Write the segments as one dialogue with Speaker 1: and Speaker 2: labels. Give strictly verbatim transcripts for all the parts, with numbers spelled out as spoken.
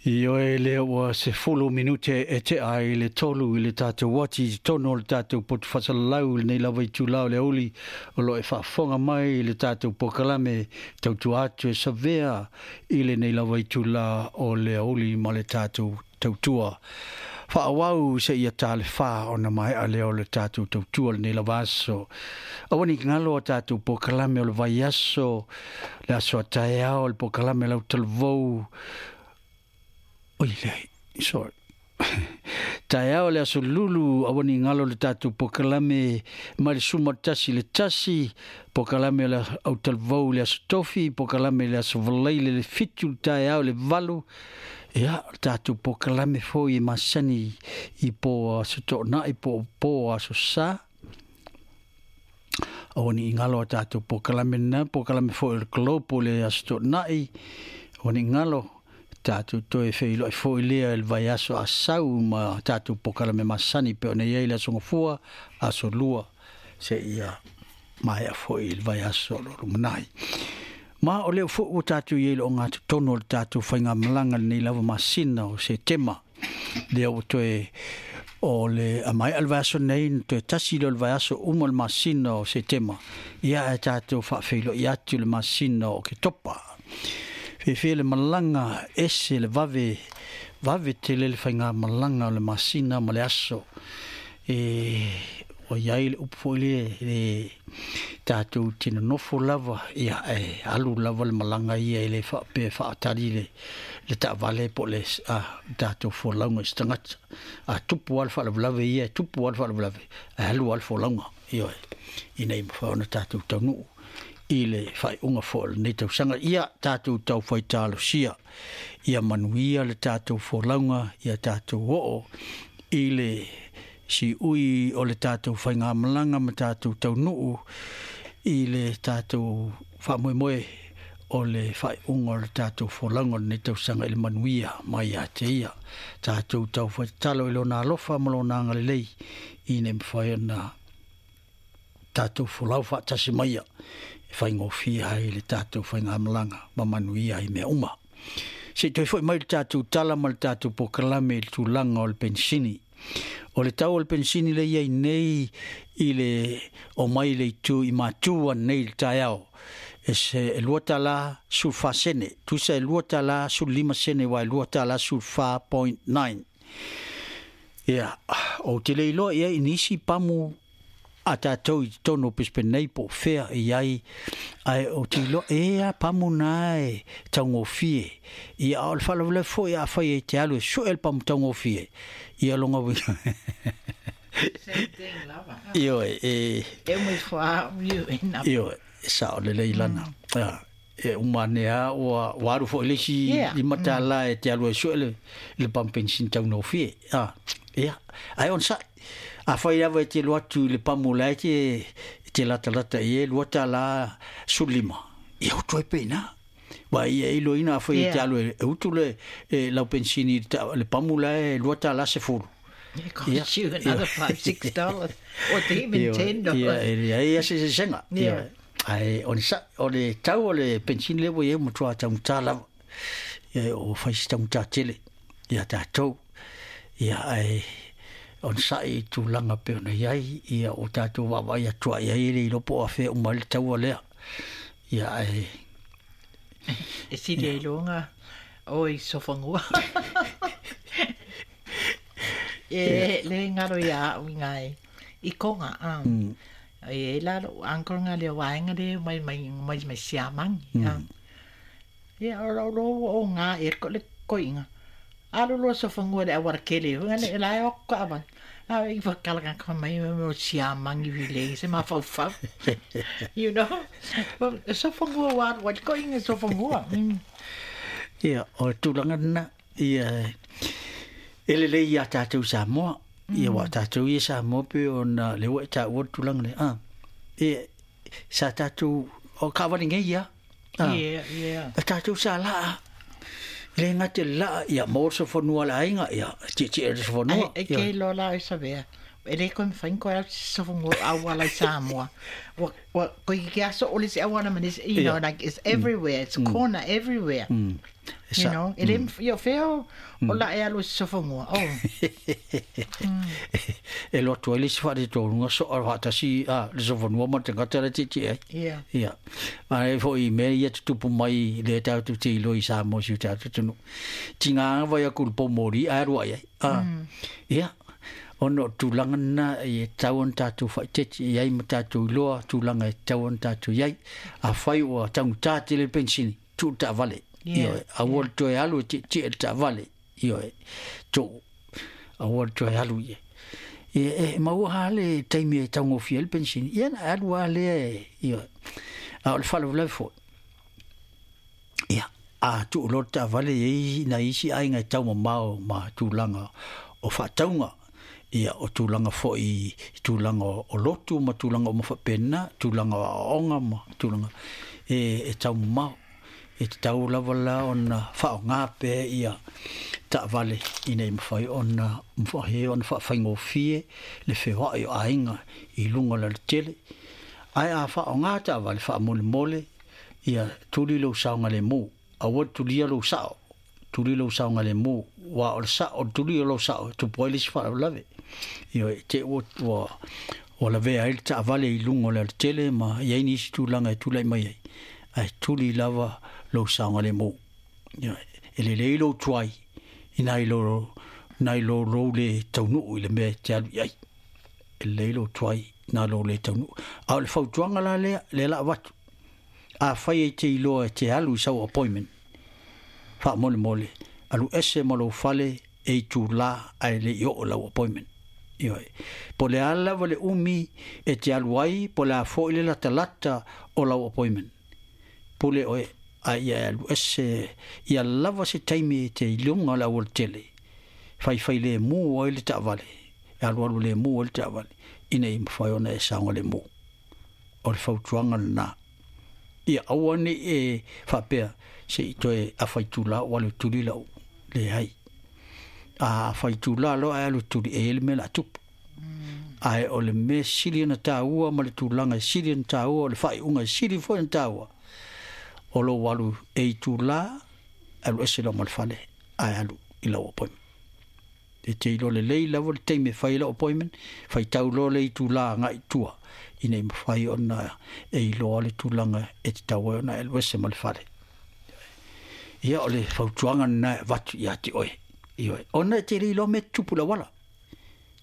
Speaker 1: Ioe lea ua sefulu minute e tea i le tolu i le tatou uati i totonu o le tatou poto faasalalau i lenei lava itulā o le aoauli o lo o e faafofoga mai i le tatou polokalame tautua atu e savea i lenei lava itulā o le aoauli ma le tatou tautua faaauau seia ta le fa ona maea lea o le tatou tautua lenei lava aso. Aua ne i galo a tatou polokalame o le vaiaso, le aso a taeao, le polokalame lau talavou. Oi leai, sorry. Taeao le aso lulu, aua ne i galo le tatou polokalame mai le suma tasi le tasi, polokalame o le autalavou le aso tofi, polokalame le aso valaile le fitu le taeao le valu. Ia, le tatou polokalame foi e masani i po aso toonai po po aso sa. Aua ne i galo a tatou polokalame na, polokalame foi o le Globe le aso toonai, aua ne i galo tatou toe feiloai foi lea i le vaiaso asau ma tatou polokalame masani pe ona i ai le aso gafua, aso lua, seia maea foi i le vaiaso o lo o lumanai. Ma o lea foi ua tatou i ai i le ogatotonu o le tatou faigamalaga lenei lava masina o Setema. Lea ua toe o le maea le vaiaso nei, na toe tasi lea o le vaiaso uma le masina o Setema. Ia ae tatou faafeiloai atu le masina o Oketopa. Fefe le malaga ese le vave, vave tele le faigamalaga o le masina ma le aso. E ua iai le upu foi lea le tatou te nonofo lava, ia e alu lava le malaga ia e le faapea faatali le, le taavale po o le a, tatou folauga i se tagata. A tupu lava le faalavelave ia, e tupu lava le faalavelave, ae alu lava le folauga, ioe, ina ia mafai ona tatou taunuu i le faaiuga foi o lenei tausaga. Ia tatou taufai talosia, ia manuia le tatou folauga, ia tatou oo i le siui o le tatou faigamalaga ma tatou taunuu i le tatou faamoemoe o le faaiuga o le tatou folauga o lenei tausaga i le manuia mai ia te ia. Tatou taufai tatalo i lona alofa ma lona agalelei ina ia mafai ona tatou folau faatasi maia e faigofie ai le tatou faigamalaga ma manuia ai mea uma. Se i toe foi mai le tatou tala ma le tatou polokalame i le tulaga o le penisini. O le tau o le penisini lea i ai nei i le omai i le itu i Matu ananei i le taeao, e se e lua tala sefulu fa sene, tusa e lua tala sefulu lima sene aua e lua tala sefulu fa point nine. Ia, ou te le iloa i ai i nisi pamu a tatou i totonu o Brisbane nei po o fea i ai, ae ou te iloa e a pamu na e taugofie. Ia, a o le faalavelave foi afai e te alu e sue le pamu taugofie, ia longa uiga.
Speaker 2: Same thing lava.
Speaker 1: Ioe, e
Speaker 2: E umi fua u e na.
Speaker 1: Ioe, e sao lelei lana.
Speaker 2: Mm.
Speaker 1: Ia, e uma ane a ua, ua alu foi le isi
Speaker 2: Yeah.
Speaker 1: lima
Speaker 2: Mm.
Speaker 1: tala e te alu e sue le, le pamu penisini taugofie. Ah, ia, ae ona sa'i. Afai lava e te alu atu i le pamu la e te, e te latalata i e lua tala sefulu lima. Ia utu ai pe ina. Wa ia e iloina afai e te
Speaker 2: Yeah.
Speaker 1: alu e, e utu le, e lau penisini i le ta-, le pamu la e lua tala sefulu.
Speaker 2: It costs
Speaker 1: Yeah.
Speaker 2: you another
Speaker 1: Yeah.
Speaker 2: five, six dollars or even
Speaker 1: Yeah.
Speaker 2: ten dollars.
Speaker 1: Yeah, e leai ia se sesega.
Speaker 2: Yeah.
Speaker 1: Yeah. Ae o le sa-, o le tau o le penisini lea ua i ai ua matua taugata lava. Ia, o fai se taugata tele ia tatou. Ia, ae ona sa'i i tulaga pe ona i ai, ia o tatou vaavaai atu ai ai le iloa po o afea uma ai le taua lea. Ia, ae
Speaker 2: E sili ai loga o i sofangua. E le ngaro ia au i ngai i konga, ah.
Speaker 1: Mm.
Speaker 2: E la lo uncle nga le waenga le mai mai mai mai siamangi,
Speaker 1: Mm.
Speaker 2: ah. Ia o lo lo o nga e ko le koinga. Alo lo sofangua le awara kele, nga le la o ka avan. La i whakala ka ka mai me o siamangi vile, se ma fau fau. You know? Well, sofangua wa, wa koinga sofangua. Mm.
Speaker 1: Ia, o tulaga lena, ia, e lelei ia tatou Samoa. Ia, wa tatou ia Samoa pe ona le ua e taua le tulaga lea. Ah, e, sa tatou, o kaavale nei ia. Ah.
Speaker 2: Yeah, yeah.
Speaker 1: A tatou sa laa. Le ngate laa, ia, maua le sofonua le aiga, ia, tietie le sofonua.
Speaker 2: Ai, e
Speaker 1: Ia.
Speaker 2: ke loa la e savea. E le koe mawhain koe au sofongua au ala i Samoa. Wa, wa, koe ki aso ole se au ana manese, you
Speaker 1: Yeah.
Speaker 2: know, like it's everywhere, it's
Speaker 1: Mm.
Speaker 2: corner everywhere.
Speaker 1: Mm.
Speaker 2: You know, e le ia feo o la e alu sofonua. Oh.
Speaker 1: E lotu ai le si whaare so a whaatasi a le sofonua ma te ngata le titi ai.
Speaker 2: Ia.
Speaker 1: Ia. A e fo i mea ia tutupu mai le tātu te ilo i sa mo si tātu tunu. Tinga anga vai aku le pōmori a rua ai. A. Ia. Ono tūlanga na i tau an tātou whaiteti i ai ma tātou iloa tūlanga e tau an tātou iai. A whai ua tangu tāte le pensini tū tā vale.
Speaker 2: Yeah.
Speaker 1: Ioe, a ua toe alu ti ti e ta vale. Ioe, tō, a ua toe alu ie. E, e maua hale taimi e taungofia le pensini. Ia na alu a lea e, ioe. A o le whalavalawe fo. Ia, a tu o lota vale e na isi ainga e taumamao ma tūlanga o whaataunga. Ia, o tūlanga fo i tūlanga o lotu ma tūlanga o mawhapena, tūlanga o aonga ma tūlanga e, e taumamao. E te tau lava la ona whaongape ia ta vale i nei mawhai ona mawhahe ona whaawhaingofie le whewai o ainga i lunga la le tele. Ai a whaonga ta vale whaamole ia tuli lo saunga le mō. A wad tulia lo sao. Tuli lo saunga le mō. Wa o le sao, tuli lo sao. Tupu ai le si whaalawe. Ia te ua o la vea ai ta vale i lunga la le tele ma iai nisi tūlanga e tūlai mai ai. Ai tuli lava lo saunga le mō. Ia, e le lei lo tuai, i nai lo, nai lo lo le taunuu i le mea te alu i ai. E le lei lo tuai, nā lo le taunuu. A o le fautuanga la lea, le la watu. A whai e te iloa e te alu i sau appointment. Wha mole mole. Alu ese ma lo fale e i tū la ai le i o lau appointment. Ioe. Po le ala wale umi e te alu ai, po le a fo i le lata lata o lau appointment. Pule oe a ia alu ese ia lava se taimi e te ilunga la awal tele. Whai whai le mō ai le taavale. E alu alu le mō ai le taavale. Ina i mwhai ona e saunga le mō. O le fautuanga na. Ia awane e whapea se i toe a whaitula o alu tuli lau le hai. A whaitula lo a alu tuli e ele mea la tupu. Ai o le mea sili na tāua ma le tūlanga e sili na tāua o le whaiunga e sili foi na tāua. O lo walu e i tūlā, alu ese lau malfale, ai alu i lau appointment. E te ilo le lei lava le teime whai lau appointment, whai tau lo le i tūlā ngā i tua, i nei mawhai ona e iloa le tūlanga e te tau ona alu ese malfale. Ia o le fautuanga na watu i ati oe. Ioe. Ona e te le iloa me tupu la wala.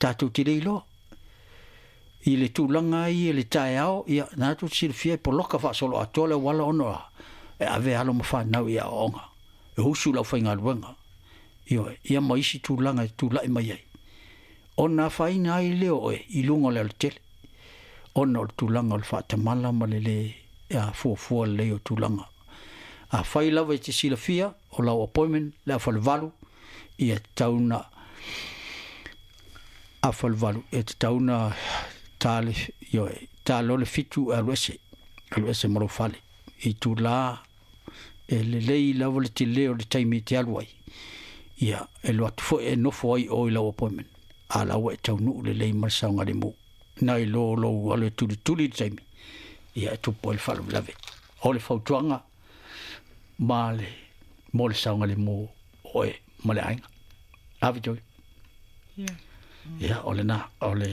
Speaker 1: Tātou te le iloa. I le tūlanga i le tae ao, ia nā tu silfia e poloka whaasolo atoa le wala ono a. E ave alo mawhanau i a onga. E husu lau whainga luenga. Ioe, ia ma isi tūlanga e tūlai mai ai. Ona whaina ai leo oe, i lunga le tele. Ona o le tūlanga o le whaatamala ma le le a fuafua le o tūlanga. A whai lava i te silafia o lau appointment le a whalewalu i e tauna a whalewalu e te tauna tāle, ioe, tāle o le fitu alu ese, alu ese malo whale. I tūlā e le lei lava le te leo le taimi te alu ai. Ia, e lo atu fo e nofo ai o i lau appointment. A lau e taunuu le lei malasaunga le mō. Nai lo lo alu e tuli tuli le taimi. Ia, e tupu ai le whaalawe. O le fautuanga ma le mō le saunga le mō oe ma le ainga. Awi toi.
Speaker 2: Ia.
Speaker 1: Ia, o le nā, o le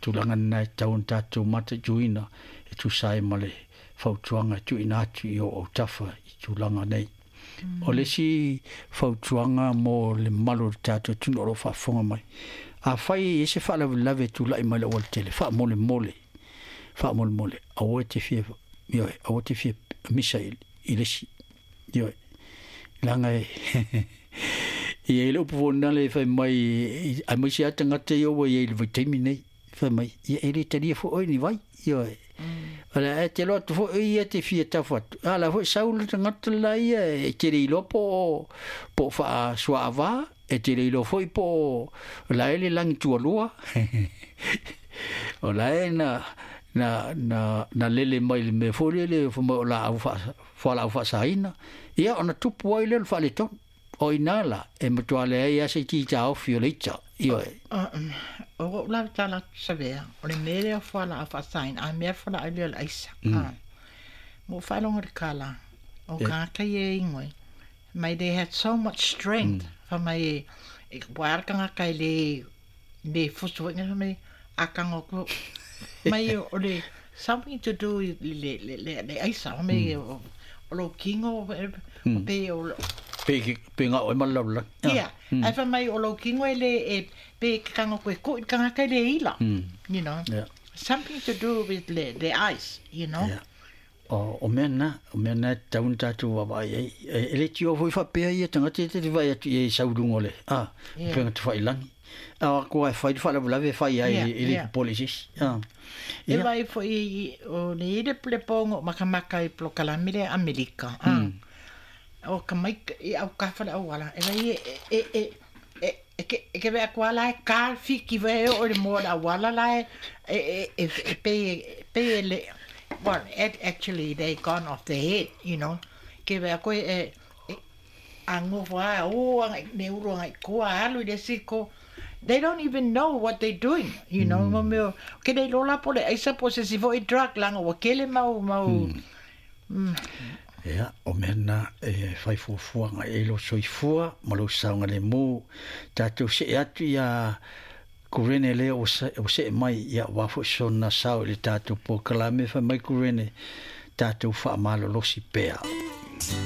Speaker 1: tūlanga nai tau tātou mata juina e tūsai ma le fautuanga tuina atu i o o tafa i tūlanga nei. Mm. O le si fautuanga mō le malo le tātou tunu o lo whaafonga mai. A whai e se whaalawelawe tūlai mai la wale tele, whaamole mole, whaamole mole, aua te fia, ioe, aua te fia misa i, i lesi, ioe. Langa e, i e le upu wōnale whai mai, ai mai se ata ngata i owa i e le vaitaimi nei, whai mai, ia e le talia fo oi ni vai, ioe. Ala e te loa tu fo ia te fia tawha atu. Ala fo saula te ngata la ia e te reilo po po wha suaava, e te reilo foi po la ele langi tualua. O la e na na na na lele mai le me fo lele fo mo la au fa fa la au fa saina. Ia ona tupu ai le wha le tonu. O ina la e matua le ai ase ki ta o fioleita. Ioe.
Speaker 2: O o la tala savea. O le mele o fa la fa sain a mea fa la le aisa. Mo fa longa le kala. O ka ka ye ingoi. Mai they had so much strength. Fa mai e wa ka nga kai le le fusu nga mai akanga ko mai o le something to do with le le le le aisa mai o lo kingo o pe o
Speaker 1: pe pe nga o malaula.
Speaker 2: Yeah. Ai fa mai o lo kingo le e pe kanga ko ko kanga kai le ila. You know.
Speaker 1: Yeah.
Speaker 2: Something to do with le the ice, you know.
Speaker 1: Yeah. O o mea na, o mea na taun tātou wawa ai. E le tio foi whapea ia tangata te te vai atu i e saurungo le. Ah,
Speaker 2: Yeah.
Speaker 1: penga te whailangi. A ko ai whai whalavulave whai ai
Speaker 2: Yeah,
Speaker 1: e le
Speaker 2: yeah.
Speaker 1: polisis. Ah.
Speaker 2: E
Speaker 1: Ia.
Speaker 2: vai foi i o le ire ple pongo makamaka i plokalami le Amerika. Ah. O ka mai i au ka whale au ala. E vai e e e e e ke e ke vea kua la e ka fiki vai o le moa la wala la e e e e pe pe le well, it actually they gone off the head, you know. Ke vea koe e e ango wha o anga ne uro anga koa alu i le siko. They don't even know what they're doing, you know. Mm. Meo, ke nei lola pole aisa po se si fo i drug langa wa kele mau mau. Mm.
Speaker 1: Ia, o mea na e whai fuafuanga e lo soifua ma lo saunga le mō. Tātou se e atu ia kurene le o se, o se e mai ia wafo sona sao i le tātou pō kalame whai mai kurene tātou wha malo losi pea.